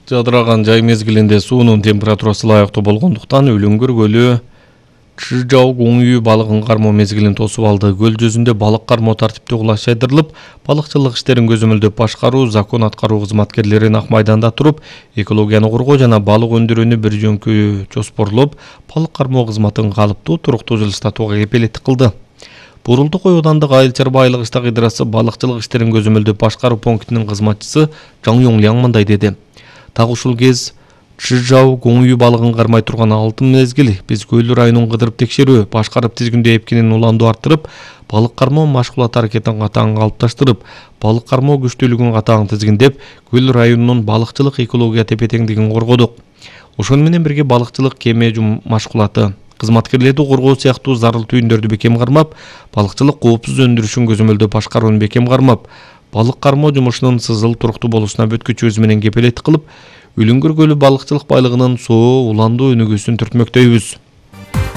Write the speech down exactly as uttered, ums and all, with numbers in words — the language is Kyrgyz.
Жадыраган жай мезгилинде суунун температурасы ылайыктуу болгондуктан Үлүңгүр көлү Чжау Гуңүй балыгын кармоо мезгилин тосуп алды. Көл жүзүндө балык кармоо тартиптүү кулаш жайдырылып, балыкчылык иштерин көзөмөлдөп башкаруу, закон аткаруу кызматкерлери нак майданда туруп, экологияны коргоо жана балык өндүрүүнү бир жөнкү жоспорлоп, балык кармоо кызматын калыптуу, туруктуу жылыштатууга кепилеттик кылды. Бурулдук ой аудандык айыл чарба айлык иштак идрасы балыкчылык иштерин көзөмөлдөп башкаруу пунктинин кызматчысы Жаң Юңляң мындай деди. Так ушул кез Чжау Гуңүй балыгын кармай турган алтын мезгил биз көл районун кыдырып текшерүү, башкарып тизгиндөө эпкинин уланду арттырып, балык кармоо машгулат аракетин катаң калыпташтырып, балык кармоо күчтүүлүгүн катаң тизгиндеп, көл районунун балыкчылык экология тепе-теңдигин коргодук. Ошону менен бирге балыкчылык кеме машгулаты, кызматкерлерди коргоо сыяктуу зарыл түйүндөрдү бекем кармап, балыкчылык коопсуз өндүрүшүн көзөмөлдөп башкарууну бекем кармап, балык кармоо жумушунун сызыл туруктуу болушуна бүткүч өзү менен кепилеттик кылып, Үлүңгүр көлү балыкчылык байлыгынын соо, уландуу өнүгүүсүн түртмөктөйбүз.